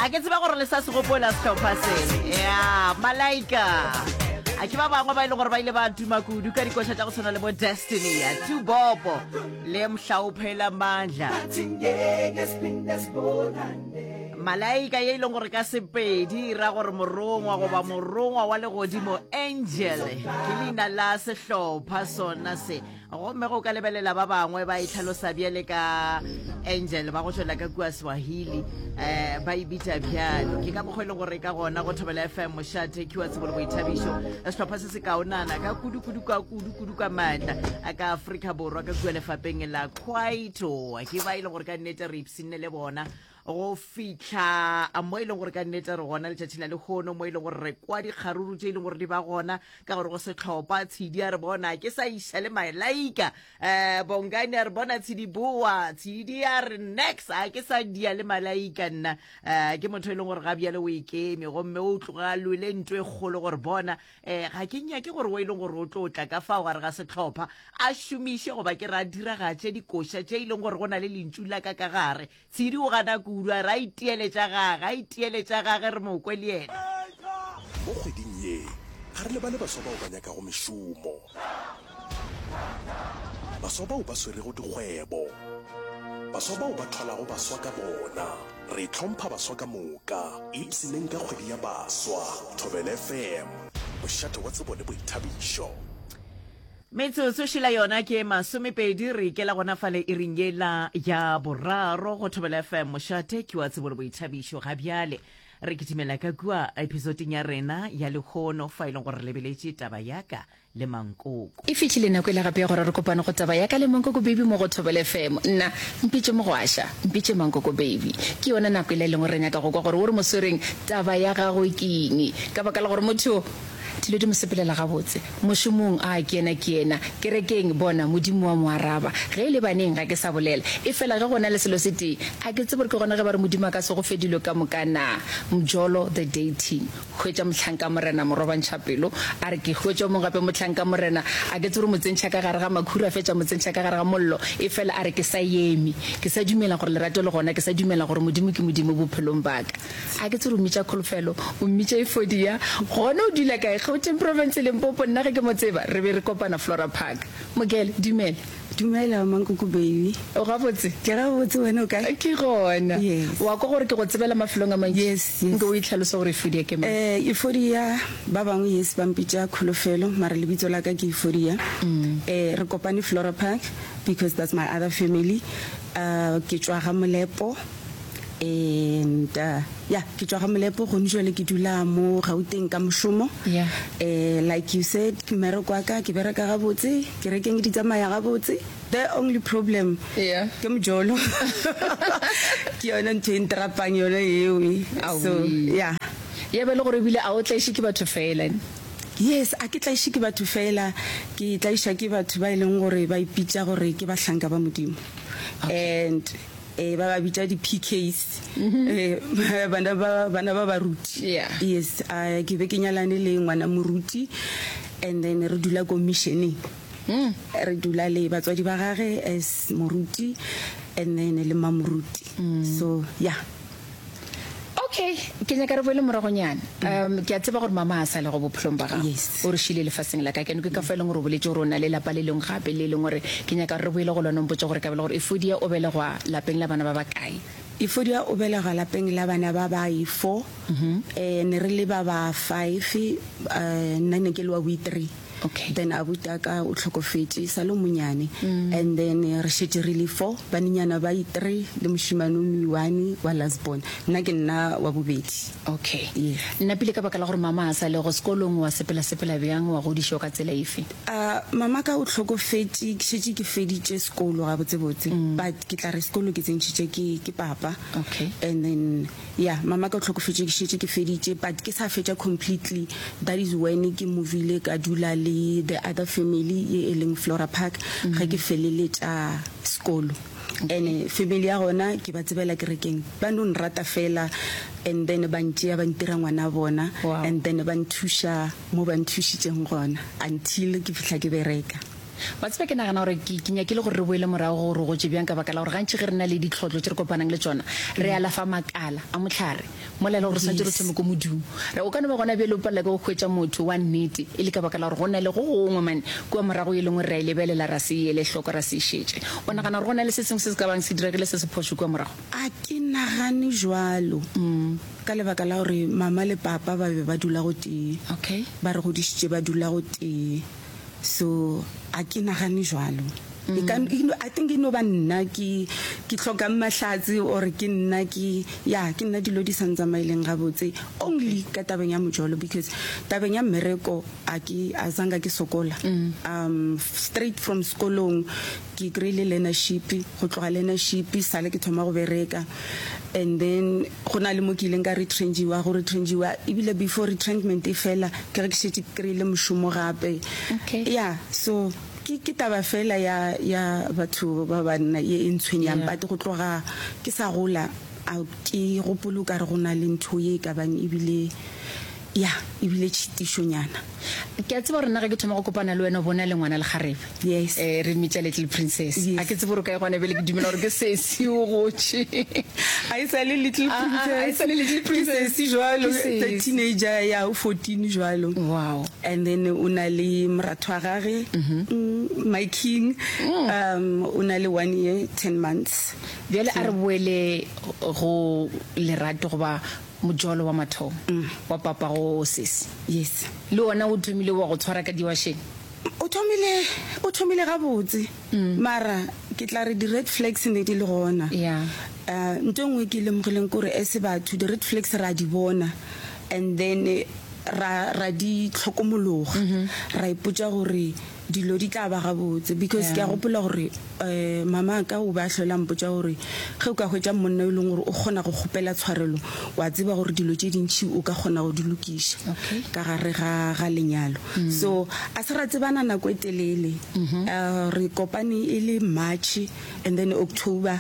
A ke tseba gore le sa se gopola sehlopha se. Ya, Malaika. A ke ba bangwe ba e leng gore ba ile ba tuma kudu ka dikoša tša go tshwana le bo Destiny, ya Tubobo le Mhlaophela Mandla. Malaika ye e leng gore ka Sepedi e ra gore morongwa goba morongwa wa legodimo, angel, ke leina la sehlopha sona se. Gomme go ka lebelela ba bangwe ba e hlalosa bjale ka angel ba go tšwela ka kua Swahili, um ba e bitša bjalo. Ke ka mokgwa e leng gore ka gona go Thobela FM mošate ke wa tsebo le boithabišo. Sehlopha se se kaonana ka kudu-kudu ka kudu-kudu ka maatla a ka Afrika Borwa ka kua lefapeng la Kwaito. Ke ba e leng gore ka nnete re ipshinne le bona go fihla mo e leng gore ka nnete re gona letšatši la lehono, mo e leng gore re kwa dikgaruru tše e leng gore di ba gona ka gore go sehlopha. Tshidi a re bona ke sa iša le Malaika, um Bongani a re bona Tshidi boa, Tshidi a re nex a ke sa dia le Malaika nna. Um ke motho e leng gore ga bjale o ikeme gomme o tloga a lwele nto e kgolo gore bona um ga ke nyake gore o e leng gore o tlo tla ka fao gare ga sehlopha a šomiše goba ke re a diragatše dikoša tše e leng gore go na le lentšu la ka ka gare. Tshidi o gana kudu, a re a itiele tša gage, a itiele tša gage re mo kwe le yena. Mo kgweding ye, ga re lebale baswa bao ba nyakago mešomo, baswa bao ba swerego dikgwebo, baswa bao ba thwalago baswa ka bona. Re hlompha baswa ka moka. Ipshineng ka kgwedi ya baswa. Thobela FM, mošate wa tsebo le boithabišo. Metsotso šela yona ke masomepedi, re ikela gona fale iring yela ya boraro go Thobela FM, mošate ke wa tsebo le boithabišo. Ga bjale re kitimela ka kua episodeng ya rena ya lehono fa e leng gore re lebeletše taba ya ka le mankoko. E fihlile nako yela gape ya gore re kopane go taba ya ka le mankoko baby mo go Thobela FM. Nna, mpitše Mogwaša, mpitše mankoko baby. Ke yona nako yela e leng gore re nyaka go kwa gore o re mo swereng taba ya gagwe ke eng. Ka baka la gore motho Dilo di mo sepelela gabotse. Mošomong, a, ke yena, ke yena. Kerekeng, bona, Modimo wa mo araba. Ge e le baneng, ga ke sa bolela. Efela ge go na le selo se tee, a ke tsebe gore ke gona ge ba re Modimo a ka se go fe dilo ka moka na? Mjolo, the dating. Hwetša mohlanka Morena, morobantšha pelo. A re, Ke hwetša o mongwe gape mohlanka Morena. A ke tsebe gore mo tsentšha ka gare ga makhura, a fetša mo tsentšha ka gare ga mollo. Efela a re, Ke sa eme. Ke sa dumela gore lerato le gona. Ke sa dumela gore Modimo ke Modimo bophelong ba ka. A ke tsebe o mmitša Kholofelo, o mmitša Efodia. Gona o dula kae? Gauteng Province, Limpopo. Nna ge ke mo tseba, re be re kopana Flora Park. Mokele, dumela. Dumela, Mankoko baby. O gabotse? Ke gabotse, wena o kae? Ke gona. Yes. Wa kwa gore ke go tsebela mafelong a mantši? Yes, yes. Nke o itlhalose gore Efodia ke mang? Eh, Efodia, ba bangwe yes ba mpitša Kholofelo, mara lebitso la ka ke Efodia. Eh, re kopane Flora Park because that's my other family. Uh, ke tšwa ga Molepo. And uh, yeah, ke tšwa ga Molepo gone jwale ke dula mo Gauteng ka mošomo. Yeah. Eh, like you said, mmereko wa ka ke bereka gabotse, kerekeng di tsamaya gabotse. The only problem yeah. ke mojolo. Ke yona ntho e ntrapang yona eo. So, yeah. Ya ba le gore ebile a o tlaiše ke batho fela. Yes, a ke tlaiše ke batho fela, ke tlaišwa ke batho ba e leng gore ba ipitša gore ke bahlanka ba Modimo. Okay. And Ee, ba ba bitša di-PKs, ee, bana ba, bana ba baruti. Yeah. Yes, uh, ke be ke nyalane le ngwana moruti and then re dula ko missioneng. Mm. Re dula le batswadi ba gage as moruti and then le mamoruti. Mm. So, yeah. Okay, ke nyaka re boele moragonyana. Um, ke a tseba gore mama a sa le go bophelong ba gago. Yes. O re šile lefaseng la ka. Ke ke ka fa e leng gore o boletše gore o na le lapa le lengwe gape le e leng gore ke nyaka gore re boele go lona o mpotše gore ka bela gore Efodia o belegwa lapeng la bana ba bakae. Efodia o belegwa lapeng la bana ba ba i-four. Eh, ne re le ba ba five, eh, nna ne ke le wa boi-three. Okay. Then abuti a ka o hlokofetše sa le monyane. And then re šetše re le four, banenyana ba i-three le mošemane o i-one wa last born. Nna ke nna wa bobedi. Okay. Yes. Nna pele ka baka la gore mama a sa le go sekolong wa sepela-sepela bjang, wa godišwa ka tsela efe? Uh, mama ka o hlokofetše ke šetše ke feditše sekolo gabotsebotse. But ke tla re sekolo ke tsentšhitše ke, ke papa. Okay. And then Ya, mama ka o hlokofetše ke šetše ke feditše but ke sa fetša completely, that is when ke movile ka dula le the other family ye e leng Flora Park ge ke feleletša sekolo. And family ya gona ke ba tsebela kerekeng, ba no nrata fela and then ba ntšea ba ntira ngwana bona Wow. and then ba nthuša mo ba nthušitšeng gona until ke fihla ke bereka. Wa tseba, ke nagana gore ke, ke nyakile gore re boele morago gore go gotše bjang, ka baka la gore gantši ge re na le ditlhotlo tše re kopanang le tšona, re alafa makala a mohlare. Mola e le gore re swanetše re thome ko modung. Re, o ka no ba gona bjale o palela ke go hwetša motho wa nnete e le ka baka la gore go na le go gongwe mane kua morago e lengwe re a e lebelela ra se e ele hloko ra se e šetše. O nagana gore go na le se sengwe se se ka bang se diregile se se phošo kua morago? A ke nagane jwalo, ka lebaka la gore mama le papa ba be ba dula gotee. Okay. Ba re godišitše ba dula gotee. So a ke nagane jwalo. E ka, e no, I think e no ba nna ke, ke hlokang mahlatse or ke nna ke, ya, ke nna dilo di sa ntsamaeleng gabotse only ka tabeng ya mojolo because tabeng ya mmereko a ke, a zanka ke sokola. Um, straight from sekolong ke kry-ile learnership, go tloga learnership sale ke thoma go bereka and then Go na le mo ke ileng ka retrenchiwa, go retrenchiwa, ebile before retrenchment e fela, ke ge ke šetše ke kry-ile mošomo gape. Okay. Yeah, so ke, ke taba fela ya, ya batho ba banna ye e ntshwenyang, Yeah. but go tloga ke sa gola, a ke gopole o ka re go na le ntho ye e ka bang ebile, ya, ebile tšhitišonyana. Ke a tseba gore nna ge ke thoma go kopana le wena o bo na le ngwana lekgarebe. Yes. Eh, re mmitša little princess. Yes. A ke tsebe gore o kae gona bjale, ke dumela gore ke sesi o gotše. A e sa le little Ah, ah, princess. a e sa le little princess. Ke sesi jwalo, Ke the sesi. teenager ya o 14 jwalo. Wow. And then o na le moratho wa gage, mm, my king, um, o na le 1 year 10 months. Bjale a re boele go lerato goba mojolo wa mathomo wa papago sesi. Yes. Le wona o thomile wa go tshwara ka diwašeng? O thomile, o thomile gabotse, mara ke tla re di-red flags ne di le gona. Yeah. Uh, nto e nngwe ke e lemogileng ke gore as batho di-red flags ra di bona and then ra, ra di hlokomologa, ra ipotša gore dilo di tla ba gabotse because ke a gopola gore um mama ka o be a hlola mpotša gore ge o ka hwetša monna e leng gore o kgona go kgopela tshwarelo wa tseba gore dilo tše dintšhi o ka kgona go di lokiša ka gare ga, ga lenyalo mm. So a se ra tsebana nako e telele mm -hmm. uh, re kopane e le March and then October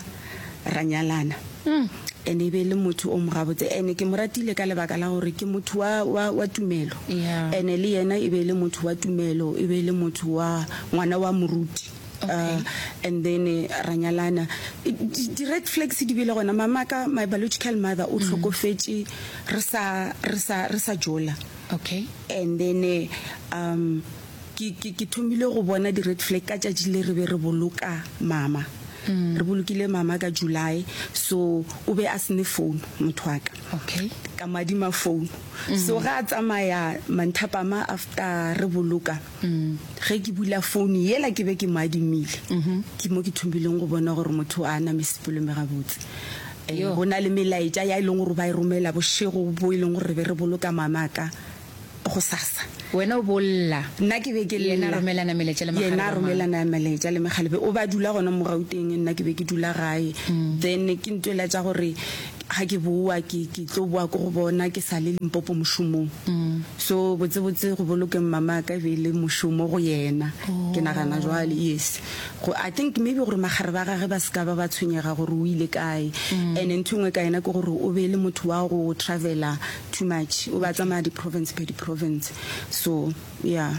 ra nyalana mm. And e be le motho o mo gabotse ene ke mo ratile ka lebaka la gore ke motho wa, wa, wa tumelo yeah. Ene le yena e be le motho wa tumelo, e be le motho wa ngwana wa moruti. Okay. Uh, and then eh, ra nyalana. Di-red flags di bile gona. Mama ka, my biological mother o hlokofetše re sa, re sa, re sa jola. Okay. And then eh, um Ke, ke, ke thomile go bona di-red flag ka tšatši le re be re boloka mama. Re bolokile mama ka July, so o be a se ne phone motho wa ka. Okay. Ka mo adima phone. So ge a tsamaya manthapama after re boloka, ge ke bula phone yela ke be ke mo adimile, ke mo ke thomileng go bona gore motho a na mesepelo me gabotse. Eh, Yo. go na le melaetša ya e leng gore ba e romela bošego bo e leng gore re be re boloka mama ka. gosasa. Wena o bo lla. Nna ke be ke lla. Yena a romelana melaetša le Yena a makgarebe a mangwe. romelana melaetša le mekgalebe. O ba dula gona mo Gauteng, nna ke be ke dula gae. Then ke ntwela tša gore ga ke boa ke ke tlo boa ko go bona ke sa le Limpopo mošomong. So botsebotse go bolokeng mamaka e be e le mošomo go yena. Ke nagana jwale, yes. Go, I think maybe gore makgarebe a gage ba se ka ba ba tshwenyega gore o ile kae. And ntho e nngwe ka yena ke gore o be e le motho wa go travela too much o ba tsamaya di province per di province so yeah.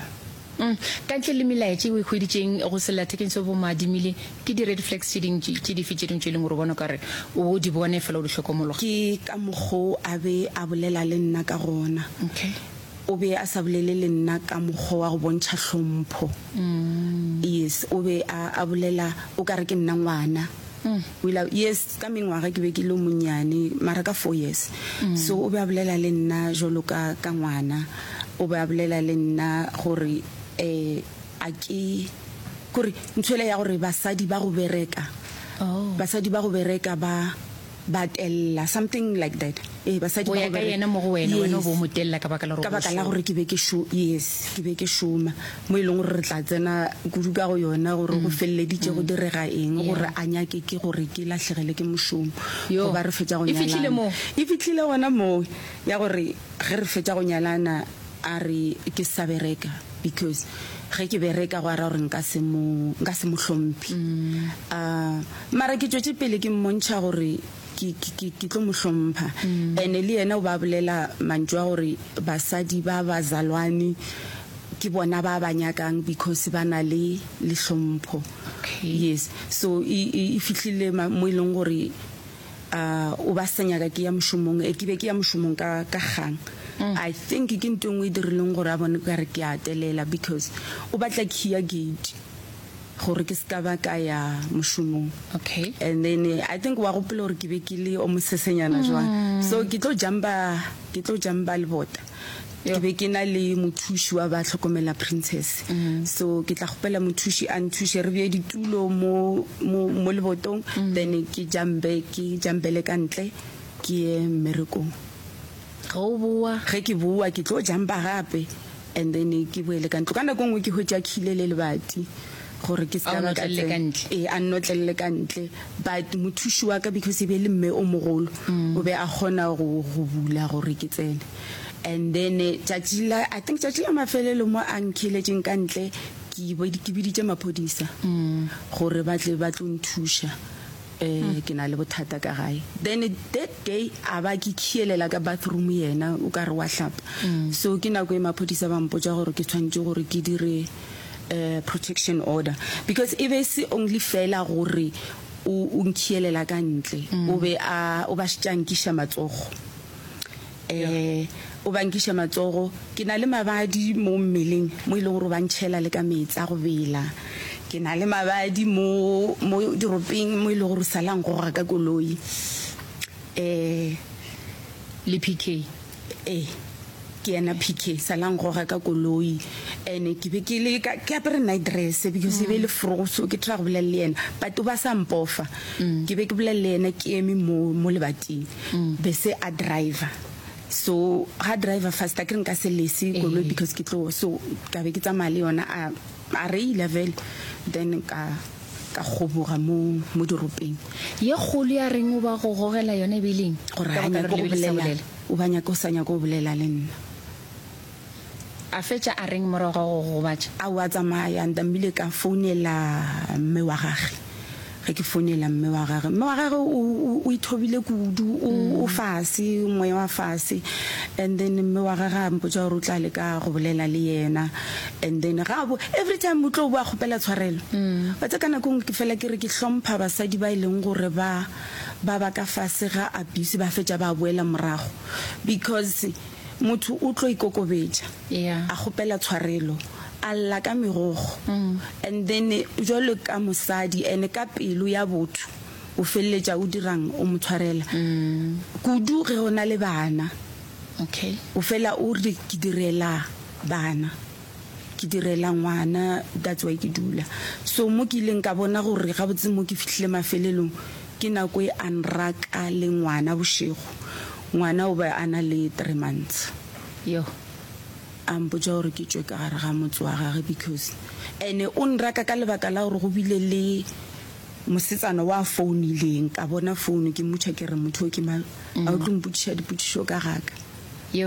Mm. Ka ntle le melaetša e o e hweditšeng go sellathekeng seo bo mo adimile, ke di red flags tše ding tše dife tše dingwe tše e leng gore o bona o ka re o di bone fela o di hlokomologa? Ke ka mokgo a be a bolela le nna ka gona. Okay. O be a sa bolele le nna ka mokgwa wa go bontšha hlompho. Mm. Yes, o be a, a bolela o ka re ke nna ngwana. O ile a, yes, ka mengwaga ke be ke le monnyane, mara ka four years. So o be a bolela le nna jwalo ka, ka ngwana. O be a bolela le nna gore um a ke, kore ntho ela ya gore basadi ba go bereka, basadi ba go bereka ba, ba tella, something like that. Ee, basadi Go ba ya go ka bereka. yena mo go wena, wena o Yes. be o mo tella ka baka la gore Ka o be o baka la šoma. gore ke be ke šo, yes, ke be ke šoma, mo e leng gore re tla tsena kudu ka go yona gore go feleleditše go direga eng Yeah. gore a nyake ke gore ke lahlegele ke mošomo Yo. goba re fetša go E fihlile nyalana. moo? E fihlile gona moo ya gore ge re fetša go nyalana a re ke sa bereka because ge ke bereka go a ra gore nka se mo, nka se mo hlomphe. Uh, mara ke tšwetše pele ke mmontšha gore ke, ke, ke, ke tlo mo hlompha. Ene le yena o ba bolela mantšu a gore basadi ba bazalwane ke bona ba ba nyakang because ba na le, le hlompho. Okay. Yes. So e, e, e fihlile mo e leng gore. Uh, o ba sa nyaka ke ya mošomong, e ke be ke ya mošomong ka, ka kgang. I think ke nto e nngwe e dirileng gore a bone ka re ke a telela because o batla key ya gate gore ke se ka ba ka ya mošomong. Okay. And then I think wa gopola gore ke be ke le o mosesenyana jwang. So ke tlo jumpa, ke tlo jumpa lebota. Ke be ke na le mothuši wa ba hlokomela Princess. So ke tla kgopela mothuši a nthuše re bee ditulo mo, mo, mo lebotong, then ke jampe, ke jampele ka ntle ke ye mmerekong. Ge o boa? Ge ke boa ke tlo jampa gape and then ke boele ka ntlo. Ka nako e nngwe ke hwetša khile le lebati gore ke se ka ba ka tsena. Ee, a nnotlelele ka ntle. But mothuši wa ka because e be e le mme o mogolo, o be a kgona go, go bula gore ke tsene. And then tšatši la, I think tšatši la mafelelo mo a nkheletšeng ka ntle, ke ke biditše maphodisa gore ba tle ba tlo nthuša. Um ke na le bothata ka gae. Then that day a ba ke khielela ka bathroom yena o ka re wa hlapa. So ke nako e maphodisa ba mpotša gore ke tshwanetše gore ke dire um protection order because e be e se only fela gore o o nkhielela ka ntle, o be a o ba šetše a nkiša matsogo. Eh, o ba nkiša matsogo. Ke na le mabadi mo mmeleng mo e leng gore o ba ntšhela le ka meetse a go bela. Ke na le mabadi mo, mo diropeng mo e leng gore o sala ngoga ka koloi. Eh. Le PK? Ee, ke yena PK, sala ngoga ka koloi. Ene ke be ke le ka, ke apere night dress because e be e le frogo so ke try go bolela le yena but o ba sa mpofa. Ke be ke bolela le yena ke eme mo, mo lebating. Be se a driver so ga driver fast a ke re nka se lese koloi because ke tlo so ka be ke tsamaya le yona a a reila vele then ka ka kgoboga mo mo diropeng. Ye kgolo ya reng o ba go gogela yona e be e le eng? Gore ga nyake go bolela o ba nyake o sa nyake go bolela le nna. A fetša a reng morago ga go go gobatša? Aowa, a tsamaya. Ntamile ka founela mme wa gage. Ge ke founela mme wa gage, mme wa gage o, o, o ithobile kudu, o, o fase, moya wa fase. And then mme wa gage a mpotša gore o tla leka go bolela le yena. And then ga a bo, every time o tlo boa kgopela tshwarelo. Wa tseba ka nako e nngwe ke fela ke re ke hlompha basadi ba e leng gore ba, ba ba ka fase ga abuse ba fetša ba boela morago. Because Motho o tlo ikokobetša, a kgopela tshwarelo, a lla ka megokgo, and then jwalo ka mosadi and ka pelo ya botho o feleletša o dirang? O mo tshwarela. Kudu ge o na le bana, o fela o re ke direla bana. Ke direla ngwana that's why ke dula. So mo ke ileng ka bona gore gabotse mo ke fihlile mafelelong ke nako e a nraka le ngwana bošego. Ngwana o be a na le three months. Yoh. A mpotša gore ke tšwe ka gare ga motse wa gage because ene o nraka ka lebaka la gore go bile le mosetsana wa founileng ka bona phone ke mmotša ke re motho o ke mang a o tlo mpotšiša dipotšišo ka ga ka. Yoh.